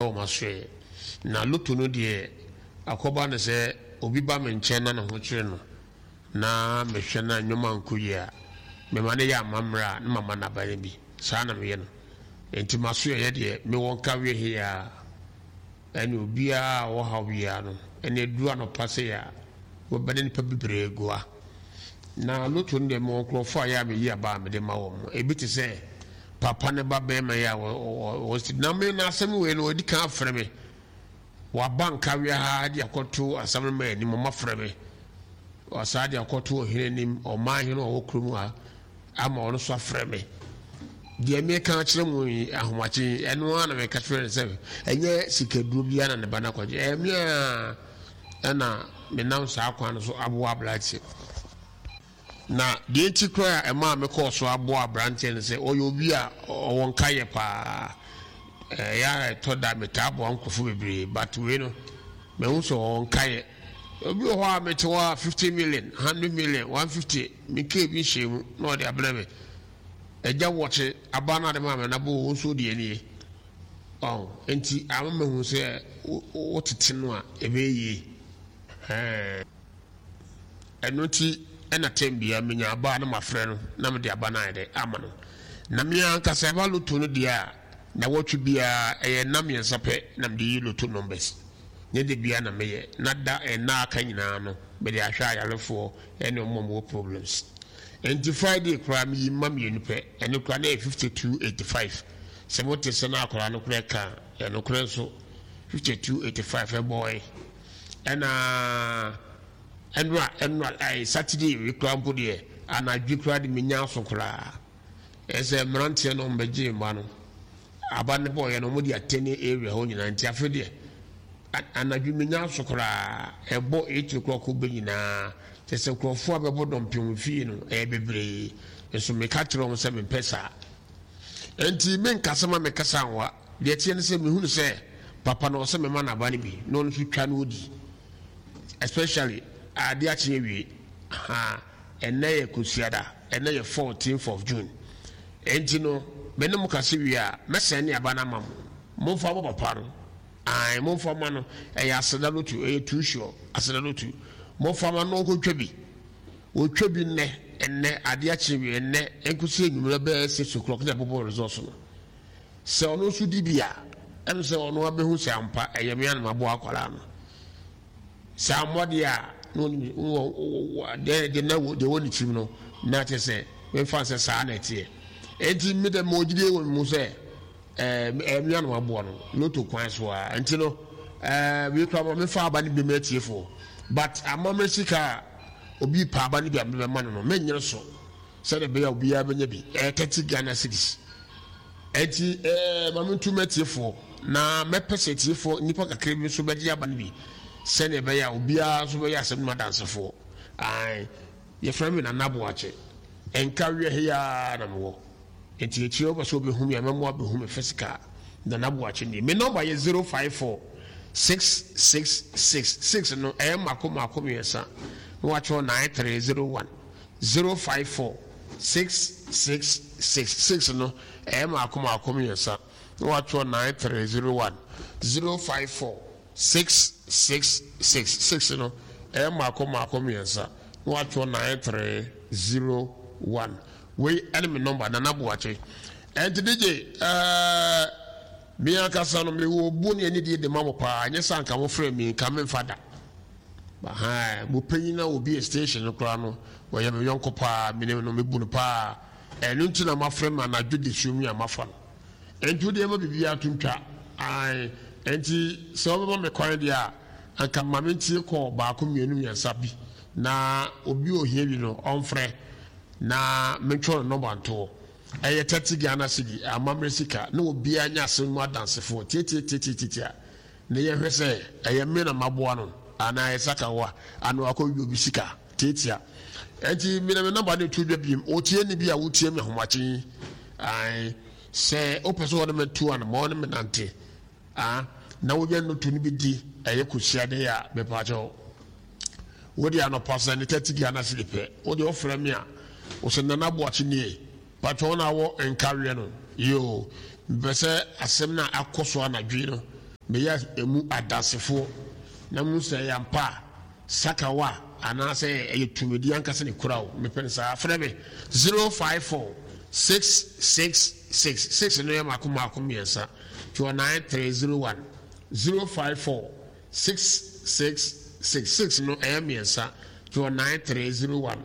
Wɔ m'asoɛeɛ. Na loto no deɛ, akɔba no sɛ obi ba me nkyɛn na ne ho kyere no, na mehwɛ na nneɛma nkɔ yie a, mema no yɛ amammerɛ a, na mama no aba no bi. Saa na meyɛ no. Enti m'asoɛeɛ deɛ, mewɔ nkaweɛ he ara. Ɛne obiara a ɔwɔ haw biara no, ɛne aduru anɔpa sei a, wɔbɛda nnipa bebree goa. Na loto no deɛ, mewɔ nkurɔfoɔ a ɛyɛ a meyi aba a mede ma wɔn. Ebi te sɛ papa ne ba barima yi a wɔ na me na asɛm wei no wɔadi kan afrɛ me. Waba nkawea ha de akɔto asɛm no ma anim, wɔafrɛ me. Wɔasan de akɔto ɔhene anim, ɔman hene a ɔwɔ kurom ha ama ɔno nso afrɛ me. Deɛ meka akyerɛ mu yi ahomakye yi, ɛno ara na meka kyerɛ no sɛ ɛnyɛ sikaduro biara na ne ba no akɔgye. Ɛyɛ me a ɛna menam saa kwan no so aboa aberanteɛ. Na deɛ nti koraa a ɛmaa mekɔɔ so aboa aberanteɛ no sɛ ɔyɛ obi a ɔwɔ nkayɛ paa. Ɛyɛ a ɛtɔ da metaa boa nkurɔfoɔ bebree, but wei no mahu sɛ ɔwɔ nkayɛ. Obi wɔ hɔ a mete hɔ a 50 million, 100 million, 150 menkaa bi nhyɛɛ mu na ɔde abrɛ me. Agya wɔkye aba no ade maa me na bo wo nso deɛ nie. Ɔho nti ama mahu sɛ wotete no a ɛbɛyɛ yie. Ɛɛ. Ɛno nti na tɛm biara menya aba a na mafrɛ no na mede aba no ayɛ dɛ ama no. Na me ankasa ɛba loto no deɛ a, nawɔtwe biara ɛyɛ nna mmiɛnsa pɛ na mede yi loto numbers. Nyɛ da biara na meyɛ, na da nna a aka nyinaa no mede ahwɛ ayarefoɔ ne wɔn a wɔwɔ problems. Enti Friday koraa meyi mma mmienu pɛ, ɛno koraa na ɛyɛ 5285. Sɛ mote sɛ na akwadaa no koraa ɛka a, ɛyɛ nokorɛ nso, 5285 ɛbɔɔe. Ɛna ɛnora ɛnora ɛɛ Saturday wei koraa mpo deɛ anadwo koraa de menya aso koraa. Ɛsɛ mmeranteɛ no wɔbɛgye mma no aba no bɔɔyɛ no wɔde atɛne area hɔ nyinaa nti afei deɛ anadwo menya aso koraa ɛbɔ 8 o'clock bɛ nyinaa kyɛ sɛ nkurɔfoɔ a bɛbɔ dɔmpem fie no ɛyɛ bebree nso meka kyerɛ wɔn sɛ mempɛ saa. Enti menkasa ma mekasa nwa. Deɛ ɛteɛ ne sɛ mehunu sɛ papa no ɔsɛ mema no aba no bi na ɔno nso twa na ɔdi, especially adeɛ akye awie. Ahaa, ɛnnɛ yɛ Kwasiada, ɛnnɛ yɛ 14th of June. Enti no me ne mo kasa wie a, mɛsɛne aba no ama mo. Momfa mmɔ papa no. Ae, momfa mma no. Ɛyɛ aseda loto, ɛyɛ too sure, aseda loto. Momfa mma no na ɔnkɔtwa bi. Wɔtwa bi nnɛ, ɛnnɛ, adeɛ akye awie, ɛnnɛ, ɛnkɔsi anwummerɛ bɛyɛ 6 o'clock na yɛbobɔ results no. Sɛ ɔno nso di bi a, ɛne sɛ ɔno abɛhu sɛ ampa ɛyɛ me a na maboa akwadaa no. Sɛ ammɔ deɛ a, na ɔnim deɛ deɛ na deɛ wɔ ne tirim no, na kyerɛ sɛ memfa sɛ saa na ɛteɛ. Enti me dɛ mewɔ gyidie wɔ me mu sɛ ɛɛ ɛyɛ me a na maboa no loto kwan so a. Nti no ɛɛ wei koraa ma memfa aba no bi ma atiefoɔ. But amammerɛ sika a obi pɛ aba no bi a mebɛma no no, menyere so sɛdeɛ ɛbɛyɛ a obiara bɛnya bi. Ɛyɛ 30 Ghana cedis. Enti eh, ma mentu m'atiefoɔ, na mɛpɛ sɛ atiefoɔ nnipa kakra bi nso bɛgye aba no bi, sɛdeɛ ɛbɛyɛ a obiara nso bɛyɛ asɛm no mu adansefoɔ. Ae, yɛfrɛ me Nana Boakye. Nka wiɛ he ara na mewɔ. Enti akyire wopɛ sɛ wobɛhu me a, mɛma woabɛhu me physical. Nana Boakye nie. Me nɔmba yɛ 054 666 6 no, ɛyɛ mmaako mmaako mmiɛnsa, na woatwerɛ 9301. 054 666 6 no ɛyɛ mmaako mmaako mmiɛnsa na watwerɛ 9301. 054 666 6 no ɛyɛ mmaako mmaako mmiɛnsa na watwerɛ 9301. Wei ɛne me nɔmba, Nana Boakye. Ɛnti DJ ɛɛ me ankasa no mewɔ obuo ne anidie de ma mo paa, nyɛ sɛ anka mofrɛ me nka memfa da. Ahaa, mo panyin a obue station no koraa no, ɔyɛ me yɔnko paa, minim no, mibu no paa. Ɛno nti na moafrɛ me anadwo dasuom yi a mafa no. Enti wo deɛ ma biribiara to ntwa. Ae, enti sɛ wobɛma me kwan deɛ a, anka ma mentie kɔɔ baako, mmienu, mmiɛnsa bi, na obi a ohia bi no, ɔmfrɛ na mentwerɛ ne nɔmba nto hɔ. Ɛyɛ 30 Ghana cedi, amammerɛ sika, na obiara nyɛ asɛm no mu adansefoɔ. Tiatiatiatiatia. Na yɛhwɛ sɛ ɛyɛ me na maboa no anaa ɛyɛ sakawa anaa wakɔwie obi sika tiatia. Ɛnti me na me nɔmba no to dwa biem. Otieni bi a wotie me ahomakye yi, ae, sɛ wopɛ sɛ wɔne me to anamɔn ne me nante a, na wonya nnoto no bi di ɛyɛ kosiade a, mepaakyɛw, wode anɔpa sɛ ne 30 Ghana cedi pɛ, wode wofrɛ me a, wo sɛ Nana Boakye nie, patwɛ wo na wɔ nkaweɛ no, yoo, mepɛ sɛ asɛm no a akɔ so anadwo yi no, Meyɛ emu adansefoɔ na mehu sɛ ɛyɛ ampa a, sakawa anaasɛ ɛyɛ tumidi ankasa na ɛkura wo. Mepɛ no saa. Frɛ me 054 666 6 no yɛ mmaako mmaako mmiɛnsa, twerɛ 9301 054 666 6 no ɛyɛ mmiɛnsa, twerɛ 9301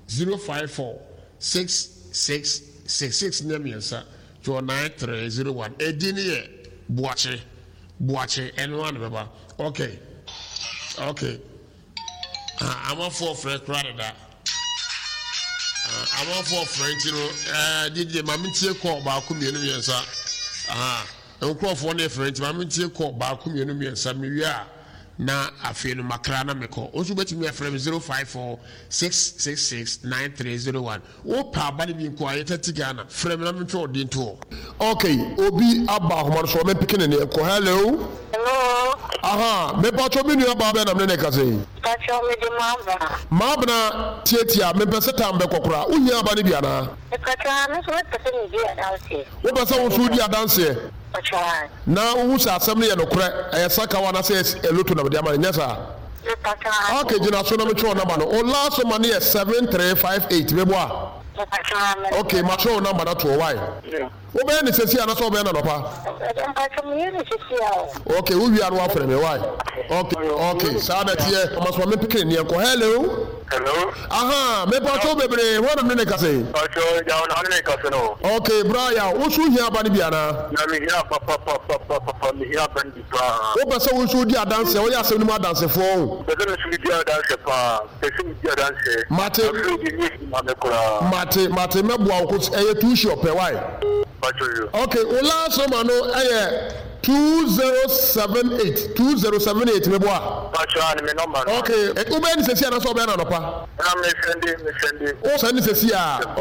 054 666 6 no yɛ mmiɛnsa, twerɛ 9301. Edin no yɛ Boakye, Boakye, ɛno ara na ɛbɛba. Ok, ok. Ah, amanfoɔ frɛ koraa dada. Ah, amanfoɔ frɛ nti no, ɛɛ, eh, didie ma mentie kɔɔ baako mmienu mmiɛnsa. Ah, nkurɔfoɔ no frɛ nti ma mentie kɔɔ baako mmienu mmiɛnsa mewie a na afei no makra na mekɔ. Wo nso wobɛtumi afrɛ me 054 666 9301. Wopɛ aba no bi nko a, yɛ 30 Ghana. Frɛ me na mentwerɛ wo din nto hɔ. Ok obi aba ahoma no so ɔmɛ peke ne neɛ nkɔ hello. Hello. Ahaa mepakyɛw me nua baa bɛn na mene no rekasa yi. Mpakyɛw mede Maabena. Maabena tiatia mempɛ sɛ time bɛkɔ koraa wo hia aba no bi anaa. Mepakyɛw aa me nso mepɛ sɛ medi adanseɛ. Wopɛ sɛ wo nso wodi adanseɛ. Mpakyɛw aa. Na wohu sɛ asɛm no yɛ nokorɛ ɛyɛ sakawa anaasɛ ɛyɛ loto na mede ama no nyɛ saa. Mepakyɛw aa. Ok gyina so na metwerɛ wo number no wo last number no yɛ 7358 meboa. Ok matwerɛ wo number no ato hɔ wai. Wobɛyɛ no sɛsi anasɛ wobɛyɛ no anɔpa? Mpakyɛ meyɛ no sɛsi a o. Ok wo wie a na wafrɛ me wai. Ok ok saa na ɛteɛ ɔma so ma me mpeke ne nneɛ nkɔ hello. Hello. Ahaa mepakyɛw bebree hwan na mene ne kasa yi? Mpakyɛw Yaw na wone ne kasa no. Ok bra Yaw wo nso wohia aba no bi anaa? Na mehia papapapapapa mehia aba no bi paa. Wopɛ sɛ wo nso wodi adanseɛ woyɛ asɛm no mu adansefoɔ o. Mepɛ sɛ me nso medi adanseɛ paa. Pɛ sɛ medi adanseɛ. Mate. Afei deɛ nyɛ easy ma me koraa. Mate mate mɛboa wo cos ɛyɛ too sure pɛ why. Mpakyɛw yo. Ok wo last number no ɛyɛ 2078 2078 meboa? Mpakyɛw aane me number no. Ok wobɛyɛ no sɛsi anaasɛ wobɛyɛ no anɔpa? Na me sɛnde me sɛnde. Wo sɛnde sɛsi a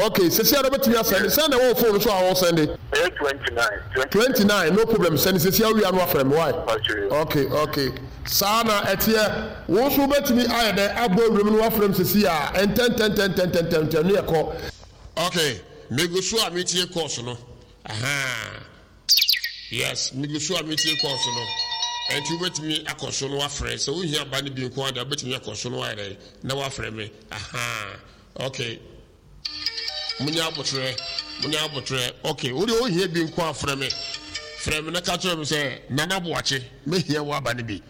ok sɛsi a na wobɛtumi asɛnde sɛn na ɛwɔ wo phone no so a wo sɛnde? Ɛyɛ 29 29 no problem sɛnde sɛsi a wowie a na wafrɛ me why? Mpakyɛw yo. Ok ok saa na ɛteɛ. Wo nso wobɛtumi ayɛ dɛn abɔ awuram na woafrɛ me seesei ara, ntɛntɛntɛntɛntɛntɛm, ne yɛkɔ. Ok, megu so a metie course no, ahaa, yes, megu so a metie course no, ɛnti wobɛtumi akɔ so na woafrɛ, sɛ wohia ba no bi nko ara deɛ wobɛtumi akɔ so na woayɛ dɛn, na woafrɛ me, ahaa, ok. Munya aboterɛ, munya aboterɛ. Ok, wo deɛ wohia bi nko a frɛ me. Frɛ me na ka kyerɛ me sɛ Nana Boakye, mɛhia w'aba no bi.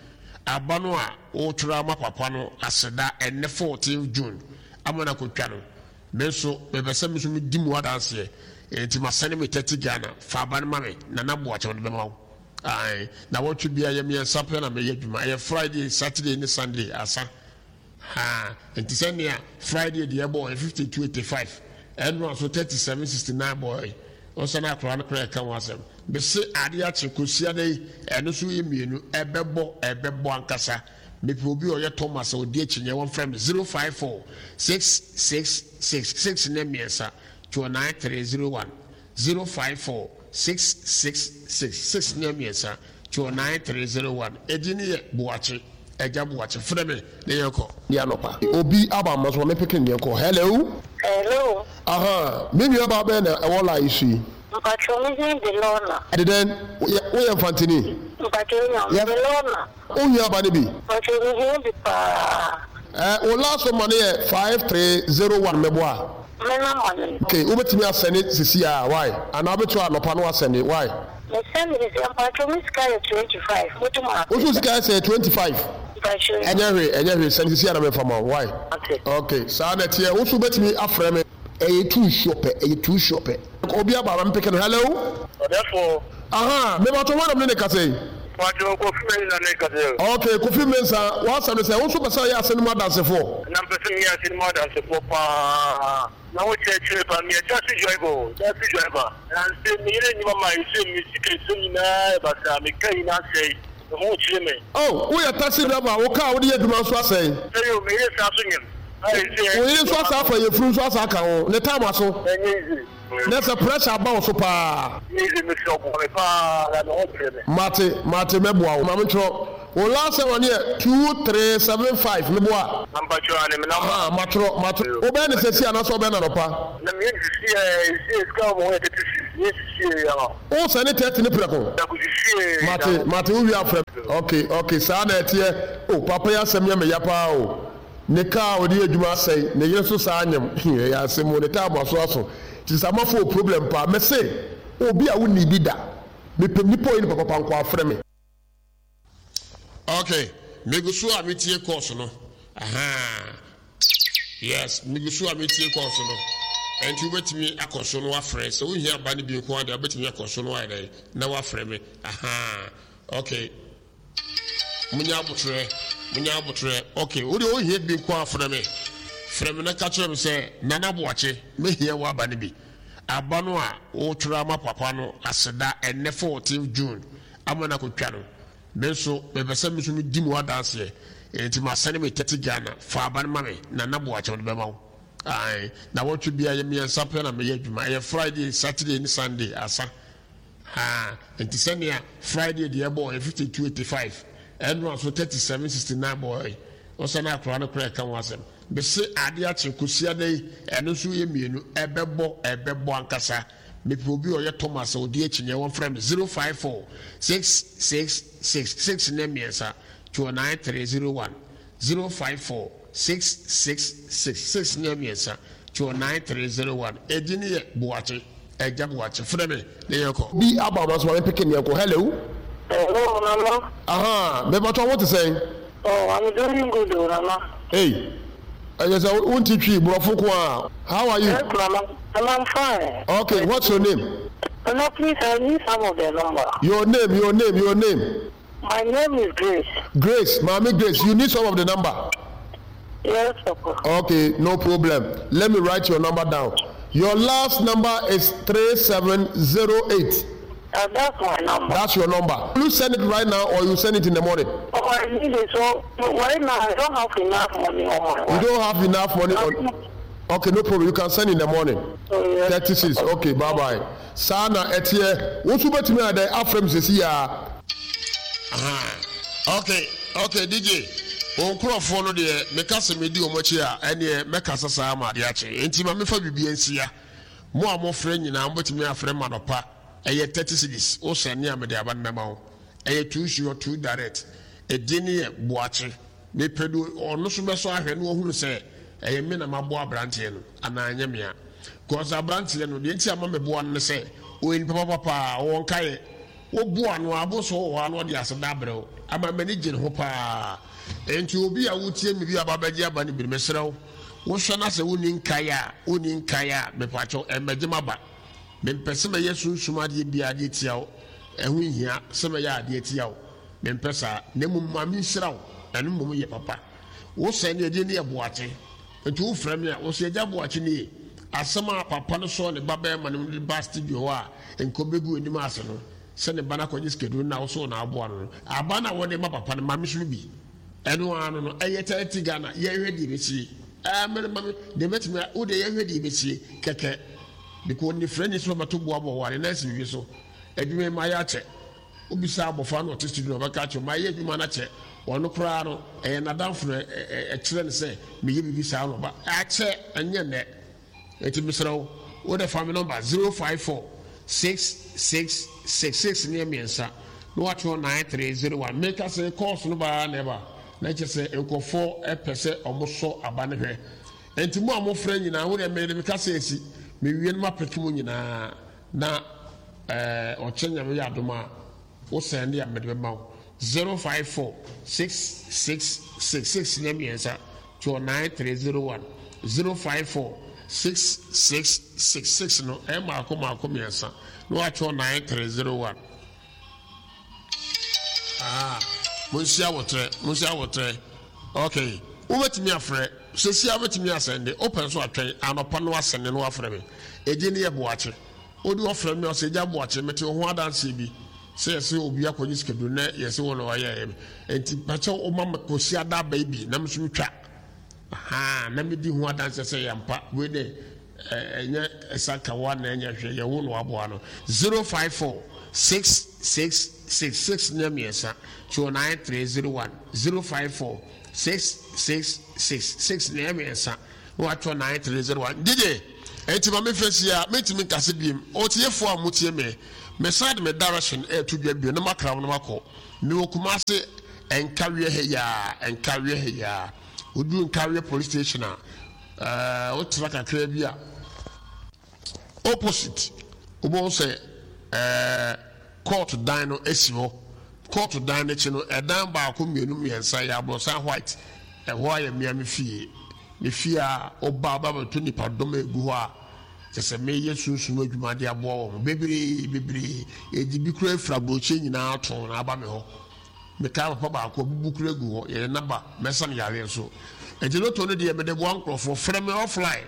Aba no a wotwerɛ ama papa no aseda ɛnnɛ 14 June ama no akɔtwa no, me nso mepɛ sɛ me nso medi mu adanseɛ. Enti masɛne me 30 Ghana, fa aba no ma me, Nana Boakye mede bɛma wo. Ae, nawɔtwe biara ɛyɛ mmiɛnsa pɛ na meyɛ adwuma, ɛyɛ Friday, Saturday ne Sunday, asa. Haa, nti sɛ nea Friday deɛ bɔɔɛ 52.85, ɛnora nso 37.69 bɔɔɛ, ɔnsa na akwadaa no koraa ɛka ho asɛm. Mese adeɛ akye Kwasiada yi, ɛno nso yɛ mmienu, ɛbɛbɔ, ɛbɛbɔ ankasa. Mepɛ obi a ɔyɛ Thomas a ɔdi akyinnyeɛ, wɔmfrɛ me 054 666 6 ne mmiɛnsa, 29301. 054 666 6 ne mmiɛnsa 2 9 3 0 1 Edin no yɛ Boakye, Agya Boakye. Frɛ me na yɛnkɔ. Ne anɔpa. Obi aba mma so ma me peke no yɛnkɔ. Hello. Hello. Ahaa, me nua baa bɛn na ɛwɔ line yi so yi? Mpakyɛw me din de Lorna. De dɛn? Woyɛ Mfantini? Mpakyɛw nya, me de Lorna. Wo hia aba no bi? Mpakyɛw me hia bi paa. Eh, wo last number no yɛ 5301 meboa? Me number no. Ok, wobɛtumi asɛne sisi a why? Anaa wobɛtumi anɔpa no wasɛne why? Me sɛne sisi a mpakyɛw me sika yɛ 25 motum a. Wo so sika yɛ sɛn 25? Mpakyɛw. Ɛnyɛ hwee ɛnyɛ hwee sɛne sisi a na menfa ma wo why? Ate. Ok, saa na ɛteɛ wo so wobɛtumi afrɛ me. Ɛyɛ too sure pɛ, ɛyɛ too sure pɛ. Obi aba ma me peke no, hello? Ɔdɛfo. Ahaa, mepakyɛw hwan na mene no kasa yi? Mpakyɛw Kofi Mensah na ɛkasa yi o. Ok, Kofi Mensah, w'asɛm ne sɛ wo nso pɛ sɛ ɔyɛ asɛm no mu adansefoɔ? Na mepɛ sɛ meyɛ asɛm no mu adansefoɔ paa, na wo kyerɛkyerɛ paa, meyɛ taxi driver o, taxi driver, nanse me yere nni ma ɛsei me sika ɛsei nyinaa yɛ basaa, me car nyinaa asɛe, me ho kyere me. Oh, woyɛ taxi driver a wo car a wode yɛ adwuma nso asɛe? Sɛe o, me yere san so nyem, a ɛsei Wo yere nso asan afa yafunu nso asan aka ho, ne time aso? Ɛnyɛ easy. Na sɛ pressure aba wo so paa. Easy mesrɛ wo boa me paa na me ho kyere me. Mate mate mɛboa wo. Ma me ntwerɛ wo last one yɛ 2375 meboa? Mpakyɛw aane me number. Ahaa matwerɛ matwerɛ. Wobɛyɛ no sɛsi anaasɛ wobɛyɛ no anɔpa? Na meyɛ no sisi ɛɛ sisi sika wɔ me ho yɛ 30 cedis. Siesie ya. Wo sɛne 30 no prɛko? Prɛko siesie. Mate, mate, wo wie a frɛ me. Ok, ok, saa na ɛteɛ. Oh, papa yi asɛm yɛ me ya paa o. Ne car a ɔde yɛ adwuma asɛe, ne yere nso saa nyem. Ɛyɛ asɛm o, ne time aso aso. Nti Samafo wɔ problem paa. Mese, obi a wonni bi da. Mepɛ nipa a ɔyɛ nipa papa nkoaa frɛ me. Ok, megu so a metie course no. Ahaa. Yes, megu so a metie course no. Ɛnti wobɛtumi akɔ so no wafrɛ. Sɛ wohia aba no bi nko ara deɛ wobɛtumi akɔ so no wayɛ dɛn na wafrɛ me. Ahaa. Ok. Munya abotrɛ, munya abotrɛ. Ok, wo deɛ wohia bi nko ara frɛ me. Frɛ me na ka kyerɛ me sɛ Nana Boakye, mɛhia w'aba no bi. Aba no a wotwerɛ ama papa no aseda ɛnnɛ 14th June ama no akɔtwa no, me nso mepɛ sɛ me nso medi mu adanseɛ. Enti masɛne me 30 Ghana, fa aba no ma me, Nana Boakye mede bɛma wo. Ae, nawɔtwe biara yɛ mmiɛnsa pɛ na meyɛ adwuma, ɛyɛ Friday, Saturday ne Sunday, asa. Haa, nti sɛnea Friday deɛ bɔɔ yɛ 52.85, ɛnora nso 37.69 bɔɔ yɛ. Ɔsɛ na akwadaa no koraa ɛka ho asɛm. Mese ade akye Kwasiada yi, ɛno nso yɛ mmienu, ɛbɛbɔ, ɛbɛbɔ ankasa. Mepɛ obi a ɔyɛ Thomas a ɔdi akyinnyeɛ, wɔmfrɛ me 054 666 6 ne mmiɛnsa, 29301, 054 666 6 ne mmiɛnsa, 29301. Edin no yɛ Boakye, Agya Boakye. Frɛ me na yɛnkɔ. Bi aba ma so ma me peke ne yɛnkɔ. Hello. Hello nana. Ahaa me pakyɛ wo te sɛn. Oh I'm doing good o nana. Ei ɛyɛ sɛ wo nte twi borɔfo nko ara how are you. Yes nana nana I'm fine. Okay what's your name. Nana please I need some of the number. Your name your name your name. My name is Grace. Grace maame Grace you need some of the number. Yes papa. Okay no problem let me write your number down your last number is 3708. That's my number. That's your number. Will you send it right now or you send it in the morning? Oh, I need it. So right now I don't have enough money on my. You don't have enough money on. Okay, no problem. You can send in the morning. Oh, yes. 36. Okay, bye bye. Saa na ɛteɛ. Wo nso wobɛtumi ayɛ dɛn afrɛ me sɛsi aa. Ahaa ok ok DJ wo nkorɔfoɔ no deɛ meka sɛ medi wɔn akyi a ɛneɛ mɛkasa saa ma adeɛ akye enti ma mefa biribi nsia mo a mofrɛ nyinaa mobɛtumi afrɛ ma anɔpa ɛyɛ 30 cedis wo sɛne a mede aba no mɛma wo ɛyɛ too sure too direct ɛdin no yɛ Boakye mepɛ do ɔno so bɛsɔ ahwɛ na wahunu sɛ ɛyɛ me na maboa abranteɛ no anaa ɛnyɛ me a cause abranteɛ no deɛ nti a ma meboa no ne sɛ ɔyɛ nipa papa paa ɔwɔ nkaeɛ Woboa no a, abonso wɔ hɔ a na ɔde aseda abrɛ wo. Ama m'ani gye ne ho paa. Enti obi a wotie me bi a ɔba abɛgye aba no bi no, mesrɛ wo, wohwɛ na sɛ wonni nkae a, wonni nkae a, mepakyɛw, ɛmmɛgye m'aba. Mempɛ sɛ mɛyɛ sunsum adeɛ biara de atia wo. Ɛho nhia sɛ mɛyɛ adeɛ atia wo. Mempɛ saa. Na mmom ma menhyira wo. Ɛno mmom yɛ papa. Wo sɛɛ ne ɛdeɛ ne yɛ boakye. Nti wo frɛ me a, wo se Agya Boakye nie. Asɛm a papa no sɔɔ ne ba bɛɛma no mu de baa studio hɔ a nka ɔbɛgu anim ase no, sɛ ne ba no akɔgye sikaduro no na wo so na aboa no no, aba no a wɔde ma papa no, ma me so bi. Ɛno ara no no, ɛyɛ 30 Ghana, yɛnhwɛ deɛ ɛbɛsie. Ɛɛ, me ma me, deɛ mɛtumi a, wo deɛ yɛnhwɛ deɛ ɛbɛsie kɛkɛ. Because onifirani sɛ ɔbɛto boaboa wɔ ade na asi biribi so. Adwuma yi mayɛ akyɛ. Wobisa abɔfra no a ɔte studio no a, ɔbɛka akyerɛ wo, mayɛ adwuma no akyɛ. Ɔno koraa no, ɛyɛ n'adamfo na ɛkyerɛ no sɛ meyɛ biribi saa na ɔba. Akyɛ, ɛnyɛ nnɛ. Enti mesrɛ wo, wo de fa me nɔmba 054 666 6 ne mmiɛnsa na woatwerɛ 9301. Meka sɛ kɔɔso no ba ara na ɛba, na kyerɛ sɛ nkurɔfoɔ pɛ sɛ wɔsɔ aba no hwɛ. Enti mo a mofrɛ nyinaa, wo deɛ mede me kasa asi, mewie no mapeke mo nyinaa. Na eh ɔkyɛ Nyame yɛ adom a wo sɛnde a mede bɛma wo 054 666 6 nyɛ mmiɛnsa toɔ 9301 054 666 6 no ɛyɛ maako maako mmiɛnsa na watwerɛ 9301 ah monsi abotrɛ monsi abotrɛ ok wobɛtumi afrɛ sɛsi a wobɛtumi asɛnde wopɛ nso atwɛn anɔpa no asɛnde no wafrɛ me ɛgye ne yɛ boakye wode ɔfrɛ me ɔsɛ gya boakye mete wo ho adanseɛ bi sɛ yɛsɛ obi akɔgye sikaduro na yɛsɛ wo na wayɛ nti pakyɛ woma kɔsi ada aba yi bi na me so metwa ha na medi ho adanseɛ sɛ yɛmpa wei dɛ Ɛnyɛ ɛsa ka wo anaa ɛnyɛ hwee, yɛ wo na waboa no. 054 666 6 nyɛ mmiɛnsa, 29301 054 666 6 nyɛ mmiɛnsa na watwerɛ 9301. DJ! Enti ma memfa nsi ha, mentumi nkasa biom. Otiefoɔ a motie me, mesan de me direction reto dwa bio na makra mo na makɔ. Mewɔ Kumasi, Nkawiɛ ha yi ara, Nkawiɛ ha yi ara. Woduru Nkawiɛ police station a, ɛɛ, wotra kakra bi a, Opposite, wobɛhu sɛ ɛɛ court dan no si hɔ. Court dan no akyi no, ɛdan baako, mmienu, mmiɛnsa, ɛyɛ aborosan white. Ɛhɔ ara yɛ mmea me fie. Me fie a woba a wobɛbɛto nnipadɔm a ɛgu hɔ a kyerɛ sɛ meyɛ sunsum adwuma de aboa wɔn bebree bebree. Yɛde bi koraa firi aburokyire nyinaa tɔn na aba me hɔ. Mekaa papa baako abubu koraa agu hɔ, yɛde no aba, mɛsa no yareɛ nso. Nti lotto no deɛ mede boa nkurɔfoɔ. Frɛ me offline.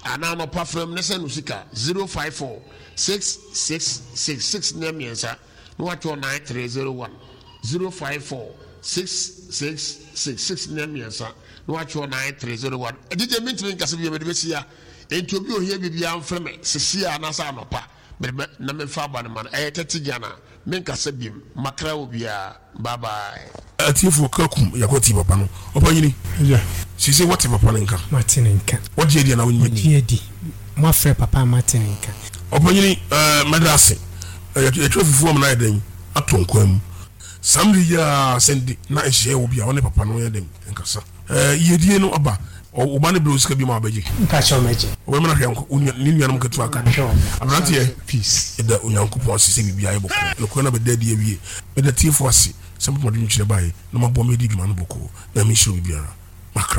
Anaa anɔpa frɛ me na send wo sika 054 666 6 ne mmiɛnsa na watwerɛ 9301 054 666 6 ne mmiɛnsa na watwerɛ 9301. Gyegye mentumi nkasa bio mede bɛsi ha enti obi ohia biribiara mfrɛ me sesia anaasɛ anɔpa. Mede bɛ na menfa aba no ma no ɛyɛ 30 Ghana menkasa biom makra obiara bye bye. Atiefoɔ ka kum yɛakɔ tie papa no. Ɔpanyini, Agya. Seesei woate papa no nka? Mate ne nka. Wagye adi anaa wonnye nni? Magye adi. Moafrɛ papa a mate ne nka. Ɔpanyini, ɛɛ, mɛda ase. Yɛatwa fufuo ama no ayɛ dɛn? Atɔ nkwan mu. Saa mmerɛ yi ara, sɛ na nhyehyɛeɛ wɔ bi a, wo ne papa no nyɛ dɛn nkasa? Ɛɛ yiedie no aba. Wo ba no brɛ wo sika bio ma wabɛgye. Mpakyɛw mɛgye. Wobɛma no ahwɛ nko wo nua ne nuanom nketewa ka. Mahwɛ wɔn. Aberanteɛ, Peace. yɛda Onyankopɔn ase sɛ biribiara ayɛ bɔkɔɔ. Nokorɛ no abɛda adi awie. Meda atiefoɔ ase sɛ mode mo adwenkyerɛ baeɛ na moaboa me adi dwuma no bɔkɔɔ. Nyame nhyira obibiara. Makra.